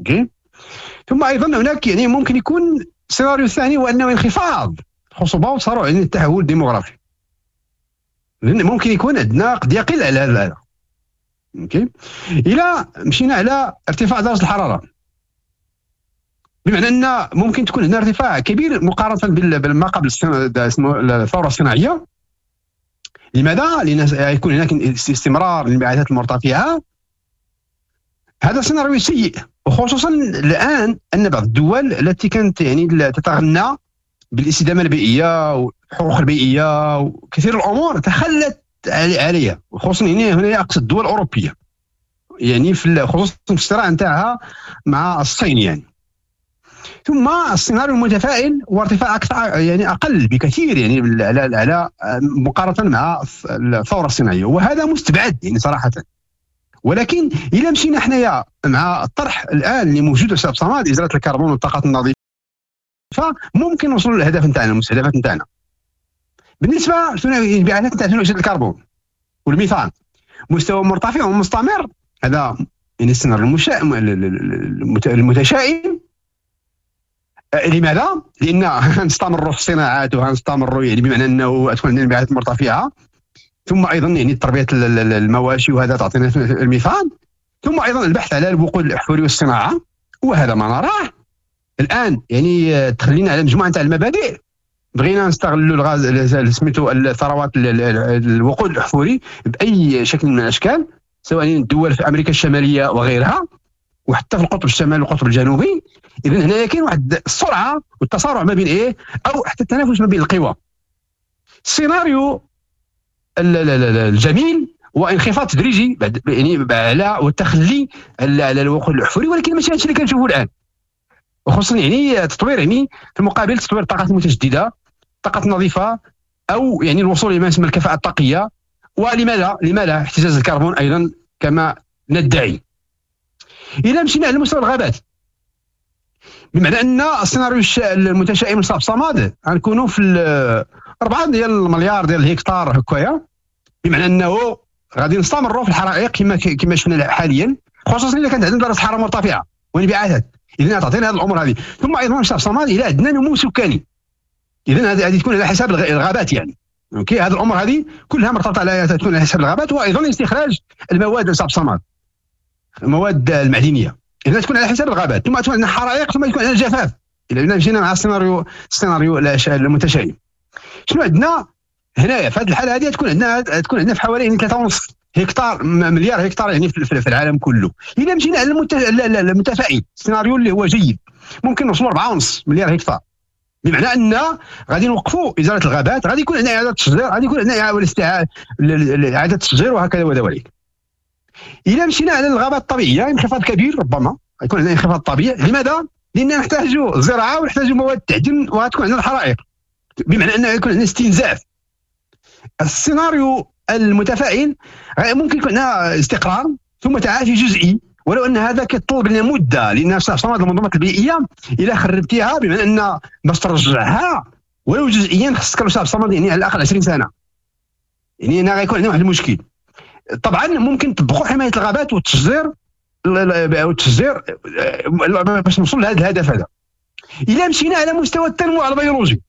OK. ثم ايضا هناك يعني ممكن يكون السيناريو الثاني هو انه انخفاض الخصوبة وتسارع يعني التحول الديموغرافي، لان ممكن يكون عندنا قد يقل على هذا. OK. الى مشينا على ارتفاع درجه الحرارة، بمعنى ان ممكن تكون عندنا ارتفاع كبير مقارنة بما قبل الثورة الصناعية. لماذا؟ لان يكون هناك استمرار للانبعاثات المرتفعة. هذا سيناريو سيء، وخصوصا الان ان بعض الدول التي كانت يعني تتغنى بالاستدامه البيئية والحقوق البيئية وكثير الامور تخلت عليها، وخصوصا يعني هنا اقصد الدول الاوروبية، يعني في خصوصا في الصراع نتاعها مع الصين يعني. ثم السيناريو المتفائل هو ارتفاع اكثر يعني اقل بكثير يعني على مقارنة مع الثورة الصناعية، وهذا مستبعد يعني صراحة. ولكن اذا مشينا حنايا مع الطرح الان اللي موجود في صماد ازالة الكربون والطاقات النظيفة، ممكن نوصلوا للهدف نتاعنا، المستهدفات نتاعنا. بالنسبة للانبعاثات نتاع ثاني اكسيد الكربون والميثان، مستوى مرتفع ومستمر، هذا يعني السيناريو المتشائم. لماذا؟ لان نستمروا في الصناعات وغنستمروا يعني بمعنى انه تكون عندنا انبعاثات مرتفعة، ثم ايضا يعني تربيه المواشي وهذا تعطينا الميثان، ثم ايضا البحث على الوقود الاحفوري والصناعة، وهذا ما نراه الان. يعني تخلينا على مجموعة تاع المبادئ، بغينا نستغلوا الغاز سميتو الثروات الوقود الاحفوري باي شكل من الاشكال، سواء الدول في امريكا الشمالية وغيرها، وحتى في القطب الشمالي والقطب الجنوبي. اذا هنا كاين واحد السرعة والتسارع ما بين ايه، او حتى التنافس ما بين القوى. السيناريو الجميل هو انخفاض تدريجي بعد يعني على والتخلي على الوقود الاحفوري، ولكن ماشي هادشي اللي كنشوفوا الان، وخصوصا يعني تطوير يعني في المقابل تطوير الطاقات المتجددة، الطاقات النظيفة، او يعني الوصول الى ما يسمى الكفاءة الطاقية. ولما لا، لما لا احتجاز الكربون ايضا كما ندعي. الى مشينا على مستوى الغابات، بمعنى ان السيناريو المتشائم لصاحب صماد غنكونوا في 4 ديال المليار ديال الهكتار هكايا، بمعنى انه غادي نستمروا في الحرائق كما شفنا حاليا، خصوصا اذا كانت عندنا درجه حرارة مرتفعة وانبعاثات. اذا تعطينا هذه الامور هذه. ثم ايضا صاحب صماد الى عندنا نمو سكاني، اذا هذه غادي تكون على حساب الغابات يعني. OK، هذه الامور هذه كلها مرتبطة على تكون على حساب الغابات، وايضا استخراج المواد لصاحب صماد، المواد المعدنية، اذا تكون على حساب الغابات. ثم تكون عندنا حرائق، ثم يكون عندنا جفاف. اذا مشينا مع السيناريو المتشائم، شنو عندنا هنايا في هذه الحالة هذه؟ تكون عندنا في حوالي 3.5 هكتار مليار هكتار يعني في العالم كله. اذا مشينا على المتفائل، السيناريو اللي هو جيد، ممكن نوصلوا 4.5 مليار هكتار، بمعنى ان غادي نوقفوا ازالة الغابات، غادي يكون عندنا اعاده تشجير، غادي يكون عندنا اعاده تشجير وهكذا وذلك. اذا مشينا على الغابات الطبيعية، انخفاض كبير، ربما يكون عندنا انخفاض طبيعي. لماذا؟ لان نحتاج الزراعة ونحتاج مواد التعدين وغتكون عندنا الحرائق، بمعنى انه يكون عندنا استنزاف. السيناريو المتفائل ممكن يكون عندنا استقرار ثم تعافي جزئي، ولو ان هذا كيطلب لنا مده، لان صمد المنظومات البيئية الا خربتيها بمعنى ان باش ترجعها ولو جزئيا خصك صمد يعني على الاقل 20 سنة، يعني هنا غيكون عندنا واحد المشكل. طبعا ممكن تطبقوا حماية الغابات والتشجير باش نوصل لهذا الهدف هذا. الا مشينا على مستوى التنوع البيولوجي،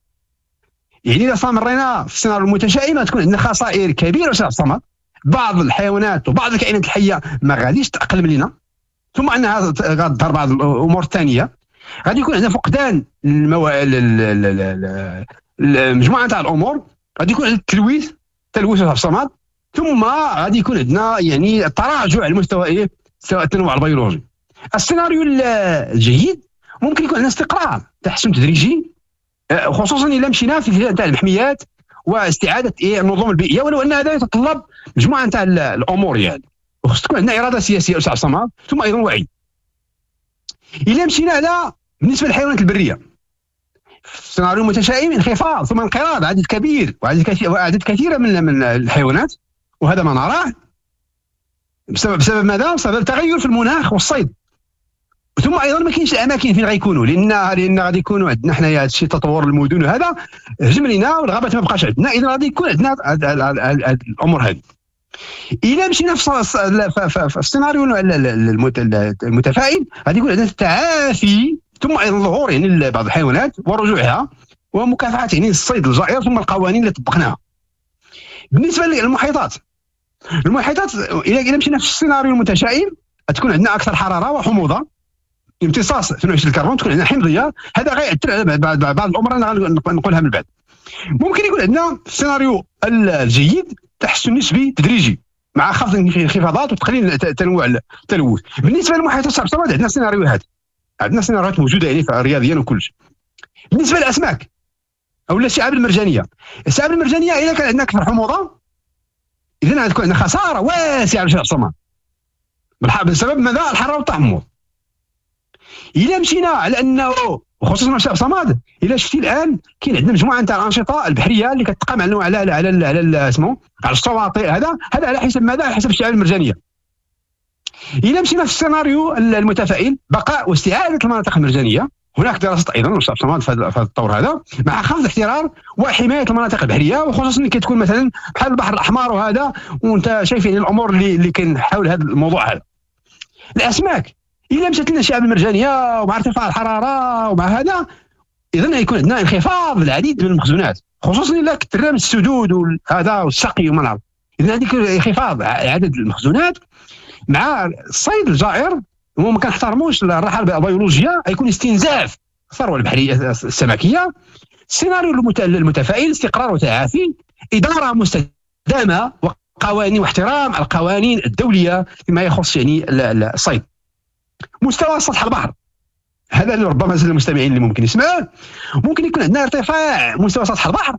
يعني اذا استمرينا في السيناريو المتشائم تكون عندنا خسائر كبيرة في الصمد، بعض الحيوانات وبعض الكائنات الحية ما غاديش تاقلم لنا، ثم انها غتظهر بعض الامور الثانية، غادي يكون عندنا فقدان المجموعة تاع الامور، غادي يكون عندنا التلويث في الصمد، ثم غادي يكون عندنا يعني تراجع على المستوى ايه التنوع البيولوجي. السيناريو الجيد ممكن يكون عندنا استقرار، تحسن تدريجي، خصوصا الا مشينا في تاع المحميات واستعادة ايه النظم البيئية، ولو ان هذا يتطلب مجموعة تاع الامور يعني، وخص تكون عندنا اراده سياسية استاذ صمد، ثم ايضا وعي. الا مشينا على بالنسبة للحيوانات البرية، في السيناريو المتشائم انخفاض ثم انقراض عدد كبير واعداد كثيرة من الحيوانات، وهذا ما نراه بسبب ماذا؟ بسبب تغير في المناخ والصيد. ثم ايضا ما كاينش الاماكن فين غيكونوا، لان غادي يكونوا عندنا حنايا هادشي تطور المدن وهذا هجم لينا والغابات ما بقاش عندنا، اذا غادي يكون عندنا الامور هذه. الا مشينا في السيناريو المتفائل غادي يكون عندنا التعافي، ثم ايضا ظهور يعني بعض الحيوانات ورجوعها، ومكافحه يعني الصيد الجائر، ثم القوانين اللي طبقناها. بالنسبة للمحيطات، المحيطات الى مشينا في السيناريو المتشائم تكون عندنا اكثر حرارة وحموضه، امتصاص ثاني اكسيد الكربون، تكون عندنا حمضيه، هذا غيأثر على بعض الامور انا نقولها من بعد. ممكن يكون عندنا في السيناريو الجيد تحسن نسبي تدريجي مع خفض الانخفاضات وتقليل تنوع التلوث. بالنسبة للمحيطات الشعب الصمد عندنا سيناريوهات، عندنا سيناريوهات موجودة يعني رياضيا وكلش. بالنسبة للاسماك او الشعاب المرجانيه، الشعاب المرجانيه اذا كان عندنا اكثر حموضه اذا غتكون عندنا خسارة واسعة للشعب الصمد بسبب ماذا؟ الحرارة والتحمض. الا مشينا على انه وخصوصا الشعب صمد، الا شفتي الان كاين عندنا مجموعة نتاع الانشطة البحرية اللي كتقام على على على على اسمه على الشواطئ، هذا على حسب ماذا؟ على حسب الشعاب المرجانيه. الا مشينا في السيناريو المتفائل بقاء واستعادة المناطق المرجانيه، هناك دراسات ايضا للشعب صمد في هذا الطور هذا مع خفض الاحترار وحماية المناطق البحرية، وخصوصا كي تكون مثلا بحال البحر الاحمر وهذا، وانت شايف يعني الامور اللي كاين حول هذا الموضوع هذا. الاسماك الا مشات لنا الشعاب المرجانيه ومع ارتفاع الحرارة ومع هذا، اذا يكون عندنا انخفاض العديد من المخزونات، خصوصا الا كثرنا من السدود وهذا والسقي وما نعرف. اذا هذيك انخفاض عدد المخزونات مع الصيد الجائر وما كنحترموش الراحة البيولوجية، غيكون استنزاف الثروة البحرية السمكيه. السيناريو المتفائل استقرار وتعافي، ادارة مستدامة وقوانين واحترام القوانين الدولية فيما يخص يعني الصيد. مستوى سطح البحر، هذا اللي ربما المستمعين اللي ممكن يسمعوه، ممكن يكون عندنا ارتفاع مستوى سطح البحر.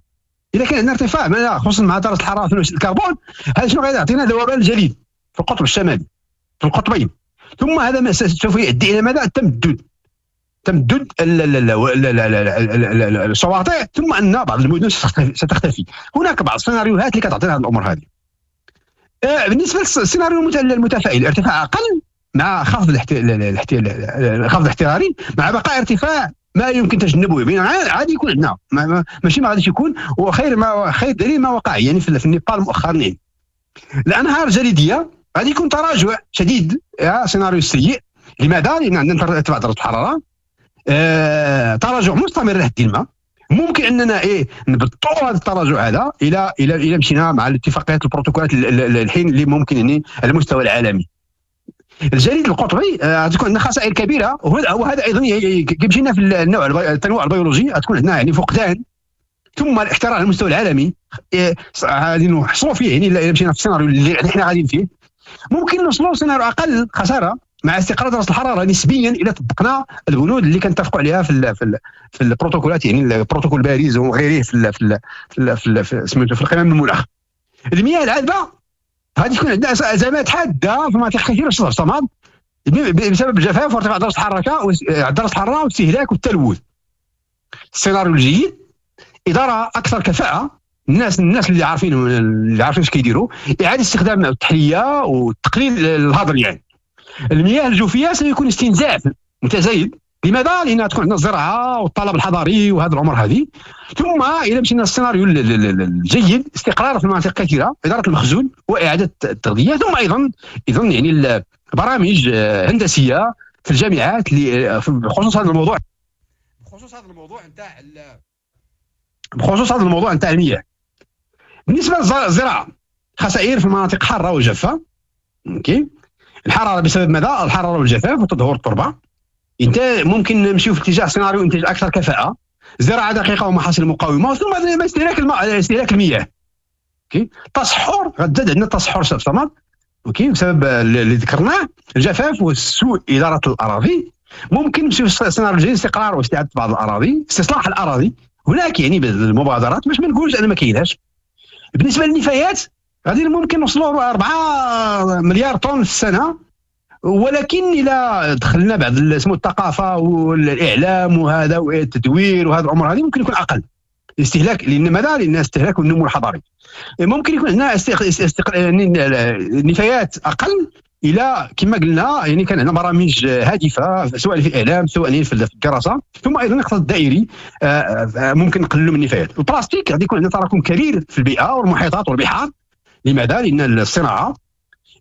اذا كان عندنا ارتفاع خصوصا مع درجه الحرارة ثاني اكسيد الكربون، هذا شنو غادي يعطينا؟ ذوبان الجليد في القطب الشمالي في القطبين، ثم هذا ما سوف يؤدي الى ماذا؟ التمدد، تمدد الشواطئ، ثم ان بعض المدن ستختفي. هناك بعض السيناريوهات اللي كتعطينا هذه الامور هذه. بالنسبة للسيناريو المتفائل ارتفاع اقل مع خفض الخفض الاحتراري مع بقاء ارتفاع ما يمكن تجنبه، يعني عادي يكون عندنا ماشي ما غاديش يكون، وخير ما خير دليل ما وقع يعني في النيبال مؤخرا. يعني الانهار الجليديه غادي يكون تراجع شديد، سيناريو سيء. لماذا؟ لان عندنا ارتفاع درجه الحرارة، تراجع مستمر لحد ما. ممكن اننا نبطئوا هذا التراجع هذا الى الى الى مشينا مع الاتفاقيات البروتوكولات الحين اللي ممكن يعني على المستوى العالمي. الجليد القطبي غتكون عندنا خسائر كبيرة، وهذا ايضا كيمشينا في النوع التنوع البيولوجي، غتكون عندنا يعني فقدان، ثم الاحترار على المستوى العالمي غادي نحصلوا فيه يعني الا مشينا في السيناريو اللي حنا غاديين فيه. ممكن نوصلوا سيناريو اقل خسارة مع استقرار درجه الحرارة نسبيا الى طبقنا البنود اللي كنتفقوا عليها في في في البروتوكولات، يعني البروتوكول باريس وغيره في في في في سميتو في القمم المناخ. المياه العذبة غادي تكون عندنا ازمات حادة في مناطق كثيرة في الصمام بسبب الجفاف وارتفاع درجه الحرارة درجه الحرارة والاستهلاك والتلوث. السيناريو الجيد ادارة اكثر كفاءة، الناس اللي عارفين اش كيديروا، اعاده استخدام التحلية وتقليل الهدر. يعني المياه الجوفيه سيكون استنزاف متزايد. لماذا؟ لان تكون عندنا الزراعة والطلب الحضري وهذه الامور هذه. ثم الى مشينا للسيناريو الجيد استقرار في مناطق كثيرة، ادارة المخزون واعاده التغذية، ثم ايضا يعني برامج هندسية في الجامعات بخصوص هذا الموضوع، بخصوص هذا الموضوع نتاع المياه. بالنسبة للزراعة خسائر في المناطق حارة وجافه. OK، الحرارة بسبب ماذا؟ الحرارة والجفاف وتدهور التربة. انت ممكن نمشيو في اتجاه سيناريو انتاج اكثر كفاءة، زراعة دقيقة ومحاصيل مقاومة، ثم استهلاك المياه. OK، تصحر، غتزاد عندنا التصحر في الصمد، OK، بسبب اللي ذكرناه الجفاف وسوء ادارة الاراضي. ممكن نمشيو في سيناريو الجديد استقرار واستعادة بعض الاراضي، استصلاح الاراضي. هناك يعني المبادرات باش ما نقولش انا ما كايناش. بالنسبة للنفايات غادي ممكن نوصلوا 4 مليار طن في السنة، ولكن الى دخلنا بعض اسمه الثقافة والاعلام وهذا والتدوير وهذا الامور هذه ممكن يكون اقل الاستهلاك. لان ماذا؟ لان استهلاك النمو الحضري. ممكن يكون عندنا نفايات اقل الى كما قلنا، يعني كان عندنا برامج هادفة سواء في الاعلام سواء في الدراسة، ثم ايضا الاقتصاد الدائري ممكن نقللوا من النفايات. البلاستيك غادي يكون عندنا تراكم كبير في البيئة والمحيطات والبحار. لماذا؟ لان الصناعة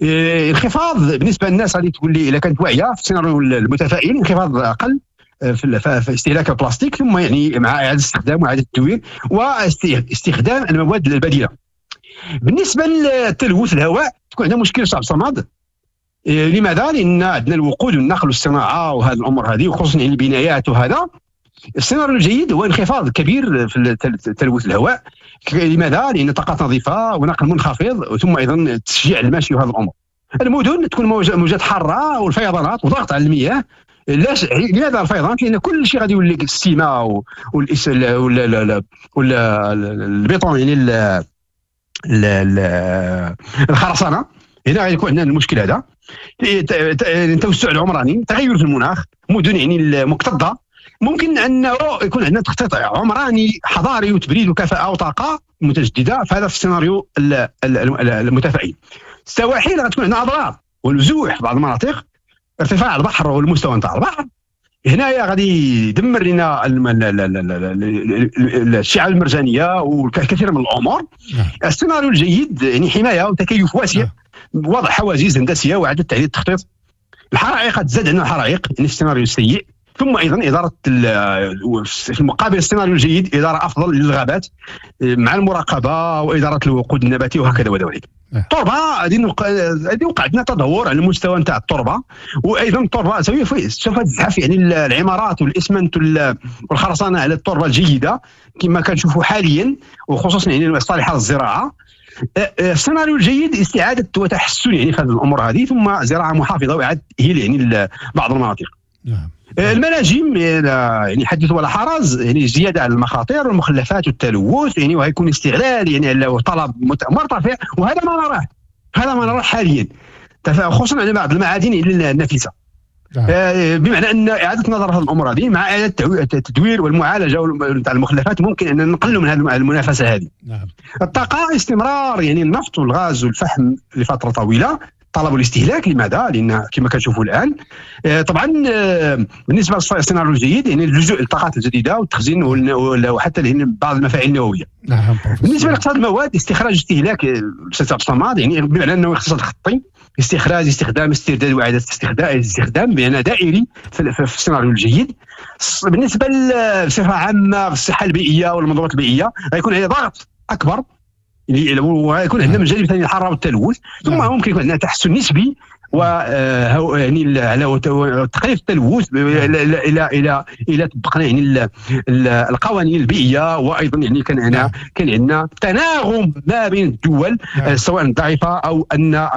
انخفاض بالنسبة للناس غادي تقول لي اذا كانت واعية في السيناريو المتفائل انخفاض اقل في استهلاك البلاستيك، ثم يعني مع اعاده الاستخدام واعاده التدوير واستخدام المواد البديلة. بالنسبة للتلوث الهواء تكون عندنا مشكل صعب صمد. لماذا؟ لان عندنا الوقود والنقل والصناعة وهذه الامور هذه، وخصوصا يعني البنايات وهذا. السيناريو الجيد هو انخفاض كبير في تلوث الهواء. لماذا؟ لان طاقات نظيفة ونقل منخفض، ثم ايضا تشجيع الماشي وهذه الامور. المدن تكون موجات حارة والفيضانات وضغط على المياه. لماذا الفيضانات؟ لان كل شيء غادي يولي ال ciment والبيطون، يعني الخرسانه. هنا غادي يكون عندنا المشكل هذا. التوسع العمراني، تغير في المناخ، مدن يعني المكتظه، ممكن انه يكون عندنا تخطيط عمراني حضاري وتبريد وكفاءة وطاقة متجددة. فهذا في السيناريو المتفائل. السواحل غتكون عندنا اضرار ونزوح في بعض المناطق، ارتفاع البحر والمستوى نتاع البحر هنايا غادي يدمر لنا الشعاب المرجانيه والكثير من الامور. السيناريو الجيد يعني حماية وتكيف واسع، وضع حواجز هندسية واعاده تعديل التخطيط. الحرائق تزاد عندنا الحرائق، يعني السيناريو السيء. ثم ايضا ادارة في المقابل السيناريو الجيد ادارة افضل للغابات مع المراقبة واداره الوقود النباتي وهكذا وذلك. التربة غادي وقع عندنا تدهور على المستوى نتاع التربة، وايضا التربة سوف تزحف يعني العمارات والاسمنت والخرسانه على التربة الجيدة كما كنشوفوا حاليا، وخصوصا يعني الصالحة للزراعة. السيناريو الجيد استعاده وتحسن يعني في هذه الامور هذه، ثم زراعة محافظة واعاده تاهيل يعني بعض المناطق. نعم. المناجم يعني حدث ولا حرج، يعني زيادة على المخاطر والمخلفات والتلوث، يعني وهيكون استغلال يعني على طلب مرتفع، وهذا ما نراه، هذا ما نراه حاليا، خصوصا على بعض المعادن النفيسة. بمعنى ان اعاده النظر في الامور هذه مع اعاده التدوير والمعالجه تاع المخلفات ممكن ان نقلوا من هذه المنافسة هذه. نعم. الطاقة استمرار يعني النفط والغاز والفحم لفترة طويلة، طلب الاستهلاك. لماذا؟ لان كما كنشوفوا الان طبعا بالنسبة للسيناريو الجيد يعني اللجوء للطاقات الجديدة والتخزين وحتى بعض المفاعل النووية. نعم. بالنسبة لاقتصاد المواد استخراج استهلاك الاستاذ عبد الصمد، يعني بمعنى انه اقتصاد خطي، استخراج استخدام استرداد واعاده استخدام بمعنى دائري في السيناريو الجيد. بالنسبة بصفة عامة في الصحة البيئية والمنظومات البيئية غيكون عليه ضغط اكبر، ويكون عندنا من جانب ثاني الحرارة والتلوث، ثم ممكن يكون عندنا تحسن نسبي و يعني على تقليل التلوث الى الى الى طبقنا يعني القوانين البيئية، وايضا يعني كان عندنا تناغم ما بين الدول سواء الضعيفة او ان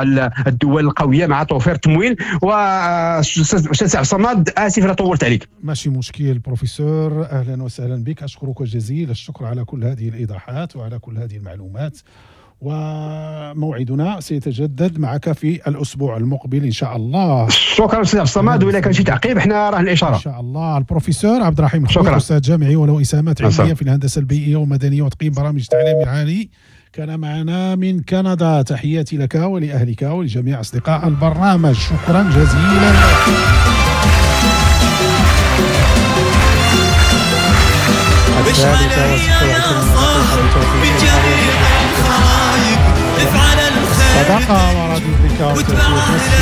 الدول القوية مع توفير التمويل. واستاذ عبد الصمد اسف لا طولت عليك. ماشي مشكل بروفيسور، اهلا وسهلا بك، اشكرك جزيل الشكر على كل هذه الايضاحات وعلى كل هذه المعلومات، وموعدنا سيتجدد معك في الأسبوع المقبل إن شاء الله. شكرا أستاذ عبد الصمد، وإذا كان شي تعقيب احنا راه الإشارة إن شاء الله. البروفيسور عبد الرحيم الخويط، أستاذ جامعي وله إسهامات علمية في الهندسة البيئية والمدنية وتقييم برامج التعليم العالي، كان معنا من كندا. تحياتي لك ولأهلك ولجميع أصدقاء البرنامج، شكرا جزيلا. صداقة وراديو بريكا.